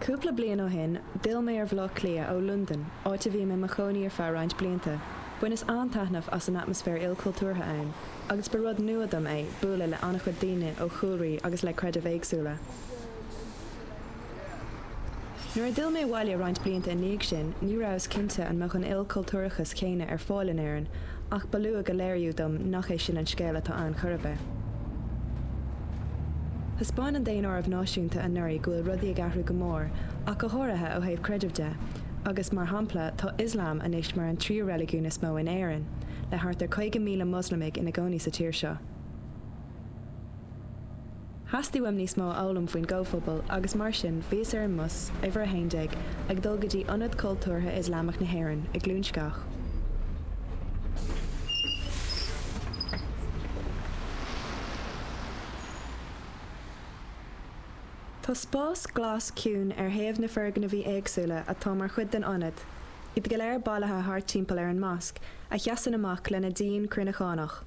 Cúpla bliain ó shin, d'fhill mé ar Bhaile Átha Cliath ó Londain, áit a bhí mé i mo chónaí ar feadh roinnt blianta. Bhaineas an-taitneamh as an atmaisféar ilchultúrtha ann, agus ba rud nua dom é bualadh le an-chuid daoine ó chúlraí agus le creidimh éagsúla. Nuair a d'fhill mé abhaile roinnt blianta ina dhiaidh sin, ní rabhas cinnte an mbeadh an ilchultúrachas céanna ar fáil in Éirinn, ach ba luath go léiríodh dom nach é sin an scéal atá ann chor ar bith. Thaispeáin an Daonáireamh Náisiúnta anuraidh go bhfuil rudaí ag athrú go mór, ach go háirithe ó thaobh creidimh de, agus mar shampla tá Ioslam anois mar an tríú reiligiún is mó in Éirinn, le thart ar 50,000 Moslamaigh ina gcónaí sa tír seo. Theastaigh uaim níos mó a fhoghlaim faoin gcomhphobal agus mar sin bhíos ar an mbus, uimhir 11, ag dul go dtí Ionad Cultúrtha Ioslamach na hÉireann i gCluain Sceach. Tá spás glas ciúin ar thaobh na foirgnimh éagsúla atá mar chuid den ionad, iad go léir bailithe thart timpeall ar an masc, a sheasann amach lena díon cruinneachánach.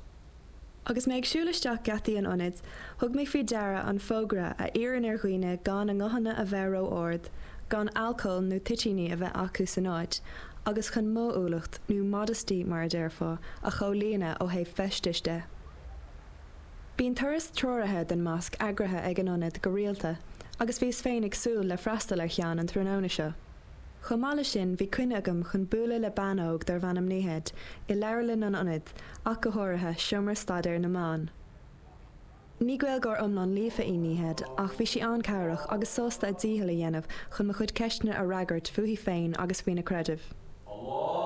Agus mé ag siúl isteach geataí an ionaid, thug mé faoi deara an fógra a iarrann ar dhaoine gan a nguthanna a bheith ró-ard, gan alcól nó toitíní a bheith acu san áit, agus chun modhúlacht, nó modesty mar a déarfá, a chomhlíonadh ó thaobh feistis de. Bíonn turas treoraithe den masc eagraithe ag an ionad go rialta, agus bhíos féin ag súil le freastal ar cheann an tráthnóna seo. Chomh maith leis sin, bhí coinne agam chun bualadh le bean óg darbh ainm Nihed i leabharlann an ionaid, ach go háirithe, seomra staidéir na mban. Ní Gaeilgeoir iomlán líofa í Nihed, ach bhí sí an-chabhrach agus sásta a dícheall a dhéanamh chun mo chuid ceisteanna a fhreagairt fúithi féin agus faoina creideamh.